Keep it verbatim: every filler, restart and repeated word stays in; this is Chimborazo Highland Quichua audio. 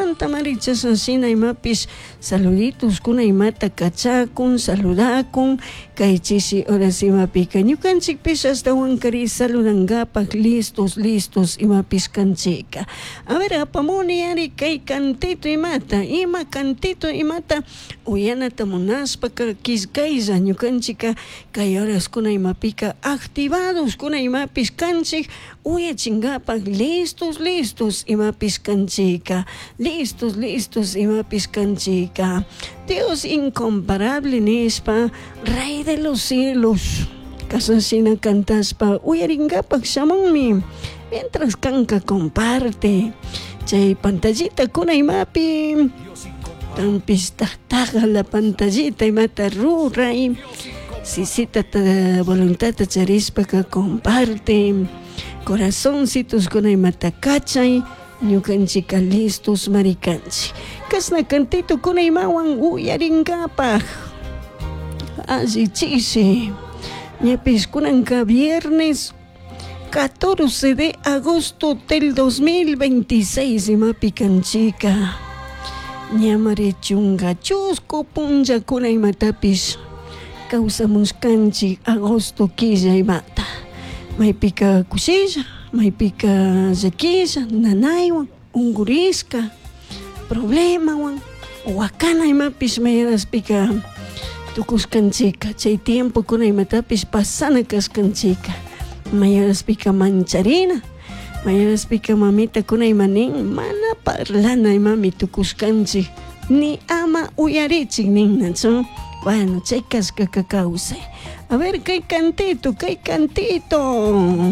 Chaymantamari chashna shina imapish saluditos kuna imata kachakun, saludakun kay chishi horas imapika ñukanchikpish ashtawankari saludangapak listos listos imapish kanchika. A ver, apamuni ari kay cantito imata, ima cantito imata uyanata munashpaka killkaylla ñukanchika kay horaskuna imapika activados kuna imapish kanchik uyachinkapak listos listos imapish kanchika, listos listos imapish kanchika. Dios incomparable nishpa, Rey de los cielos kashna shina cantashpa uyarinkapak shamunmi. Mientras kanka comparte chay pantallita kuna imapi kanpish taktaja la pantallita imata ruray sisitata voluntadta charishpaka comparte corazoncitos kuna imata kachay ñukanchika listos mari kanchik kashna cantito kuna imawan uyarinkapak alli chishi ñapish kunanka viernes catorce de agosto del dos mil veintiséis imapi kanchika ñamari chunka chusku punllakuna imatapish kawsamushkanchik agosto killa imata maypika kushilla maypika llakilla nanaywan unkurishka problemawan wakana imapish mayaraspika tukushkanchika chay tiempokuna imatapish pasana kashkanchika mayaraspika mancharina mayaraspika mamitakuna ima nin mana parlana imami tukushkanchik ni ama uyarichik ninnachu bueno chay kashkaka kawsay. A ver, kay cantito, kay cantito.